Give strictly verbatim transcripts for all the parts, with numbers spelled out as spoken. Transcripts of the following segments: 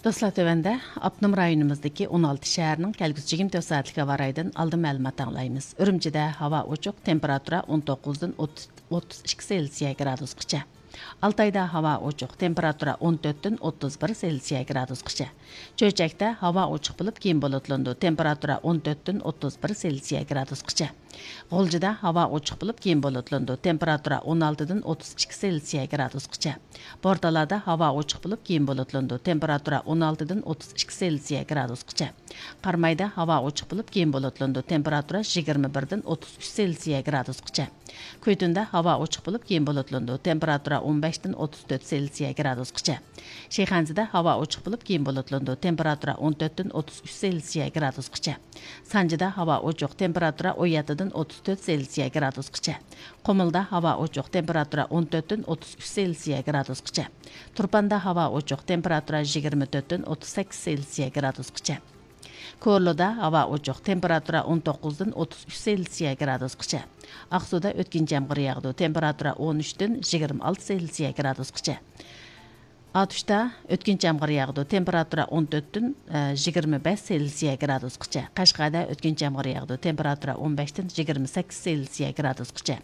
دوستلار، تۆۋەندە ئاپتونوم رايونىمىزدىكى ئون ئالتە شەھەرنىڭ كەلگۈسى يىگىرمە تۆت سائەتلىك ھاۋا رايىدىن ئالدىن مەلۇمات ئاڭلايمىز. ئۈرۈمچىدە ھاۋا ئوچۇق، تېمپېراتۇرا ئون توققۇزدىن ئوتتۇز ئىككى سېلسىيە گرادۇسقىچە. ئالتايدا ھاۋا ئوچۇق، تېمپېراتۇرا ئون تۆتتىن ئوتتۇز بىر سېلسىيە گرادۇسقىچە. چۆچەكتە ھاۋا ئوچۇق بولۇپ، كېيىن بۇلۇتلىنىدۇ، تېمپېراتۇرا ئون تۆتتىن ئوتتۇز بىر سېلسىيە گرادۇسقىچە. غۇلجىدا ھاۋا ئوچۇق بولۇپ، كېيىن بۇلۇتلىنىدۇ، تېمپېراتۇرا ئون ئالتىدىن ئوتتۇز ئىككى سېلسىيە گرادۇسقىچە. بورتالادا ھاۋا ئوچۇق بولۇپ، كېيىن بۇلۇتلىنىدۇ، تېمپېراتۇرا ئون ئالتىدىن ئوتتۇز ئىككى سېلسىيە گرادۇسقىچە. قارامايدا ھاۋا ئوچۇق بولۇپ، كېيىن بۇلۇتلىنىدۇ، تېمپېراتۇرا يىگىرمە بىردىن ئوتتۇز ئۈچ سېلسىيە گرادۇسقىچە. كۈيتۈندە ھاۋا ئوچۇق بولۇپ، كېيىن بۇلۇتلىنىدۇ، تېمپېراتۇرا ئون بەشتىن ئوتتۇز تۆت سېلسىيە گرادۇسقىچە. شىخەنزىدە ھاۋا ئوچۇق بولۇپ، كېيىن بۇلۇتلىنىدۇ، تېمپېراتۇرا ئون تۆتتىن ئوتتۇز ئۈچ سېلسىيە گرادۇسقىچە. سانجىدا ھاۋا ئوچۇق، تېمپېراتۇرا ئون يەتتىدىن ئوتتۇز تۆت سېلسىيە گرادۇسقىچە. قۇمۇلدا ھاۋا ئوچۇق، تېمپېراتۇرا ئون تۆتتىن ئوتتۇز ئۈچ سېلسىيە گرادۇسقىچە. تۇرپاندا ھاۋا ئوچۇق، تېمپېراتۇرا يىگىرمە تۆتتىن ئوتتۇز سەككىز سېلسىيە گرادۇسقىچە. كورلىدا ھاۋا ئوچۇق، تېمپېراتۇرا ئون توققۇزدىن ئوتتۇز ئۈچ سېلسىيە گرادۇسقىچە. ئاقسۇدا ئۆتكۈنچى يامغۇر ياغىدۇ، تېمپېراتۇرا ئون ئۈچتىن يىگىرمە ئالتە سېلسىيە گرادۇسقىچە. ئاتۇشتا ئۆتكۈنچى يامغۇر ياغىدۇ، تېمپېراتۇرا ئون تۆتتىن يىگىرمە بەش سېلسىيە گرادۇسقىچە. قەشقەردە ئۆتكۈنچى يامغۇر ياغىدۇ، تېمپېراتۇرا ئون بەشتىن يىگىرمە سەككىز سېلسىيە گرادۇسقىچە.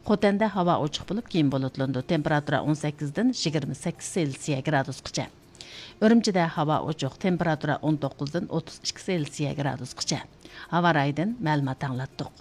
خوتەندە ھاۋا ئوچۇق بولۇپ، كېيىن بۇلۇتلىنىدۇ، تېمپېراتۇرا ئون سەككىزدىن يىگىرمە سەككىز سېلسىيە گرادۇسقىچە. ئۈرۈمچىدە ھاۋا ئوچۇق، تېمپېراتۇرا ئون توققۇزدىن ئوتتۇز ئىككى سېلسىيە گرادۇسقىچە. ھاۋا رايىدىن مەلۇمات ئاڭلاتتۇق.